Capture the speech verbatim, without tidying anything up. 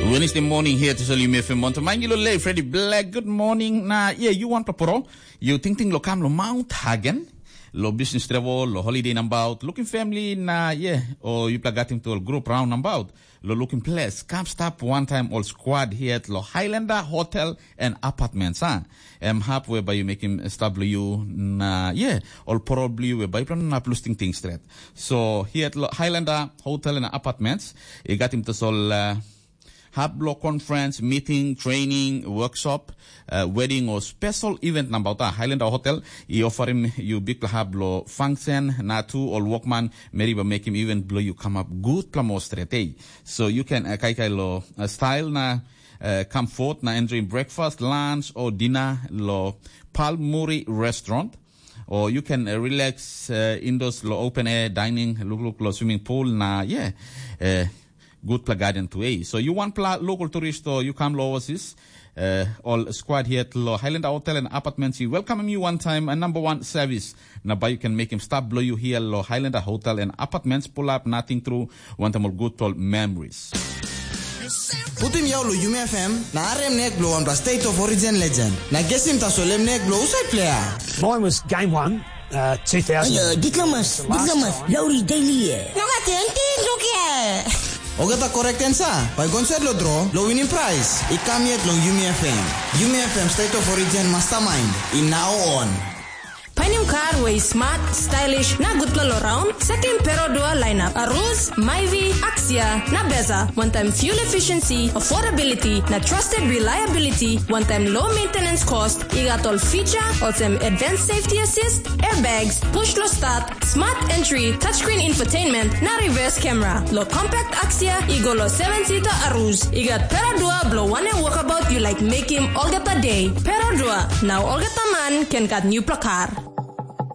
Wednesday morning here to Salim F M on Tamangi lo lei Freddy Black. Good morning. Na yeah, you want to pro? You ting ting lo kam lo Mount Hagen, lo business travel, lo holiday nambaut, looking family na yeah, o yupela gat him to all group round nambaut, lo looking place. Kam stap one time all squad here lo Highlander Hotel and Apartments, ha? Em hap whereby you make him stop lo you na yeah, all probably whereby you plan up losting things straight. So here lo Highlander Hotel and Apartments, you got him to all uh, hap lo conference, meeting, training, workshop, uh, wedding or special event nambaut, a Highlander Hotel i offer him you big hap lo function na tu all workman, meri ba make him even blow you come up good plamo straight, eh? So you can uh, kai kai lo uh, style na uh, comfort na enjoy breakfast, lunch or dinner lo Palmuri Restaurant, or you can uh, relax uh, indoors lo open air dining, look look lo swimming pool na yeah, uh, good pla garden to, eh? So you want pla local tourist or you come lo overseas, uh, all squad here lo Highlander Hotel and Apartments, we welcome you one time and number one service. Na ba you can make him stop blow you here lo Highlander Hotel and Apartments, pull up nothing through one time all good tall memories. Putim yau lo Yumi F M na arem nek blo wanpela State of Origin legend. Na gesim tasol em nek blo usai player. Mine was game one, uh, two thousand. Ayo, diplomas, diplomas, lauri daily e. Nunga tenti duke. Ogata correct answer. Bai gonset lo draw, lo winning prize. I kam yet long Yumi F M. Yumi F M State of Origin Mastermind. In now on. Painim kar we i smart, stylish, na gutpela lo raun, sekim Perodua lineup, Aruz, Myvi, Axia, na Beza, one time fuel efficiency, affordability, na trusted reliability, one time low maintenance cost, i gat ol feature, olsem advanced safety assist, airbags, push lo start, smart entry, touchscreen infotainment, na reverse camera. Lo compact Axia, i go lo seven seater Aruz, i gat Perodua blo wanem walkabout you like make him olgeta day. Perodua, now olgeta man can gat new kar.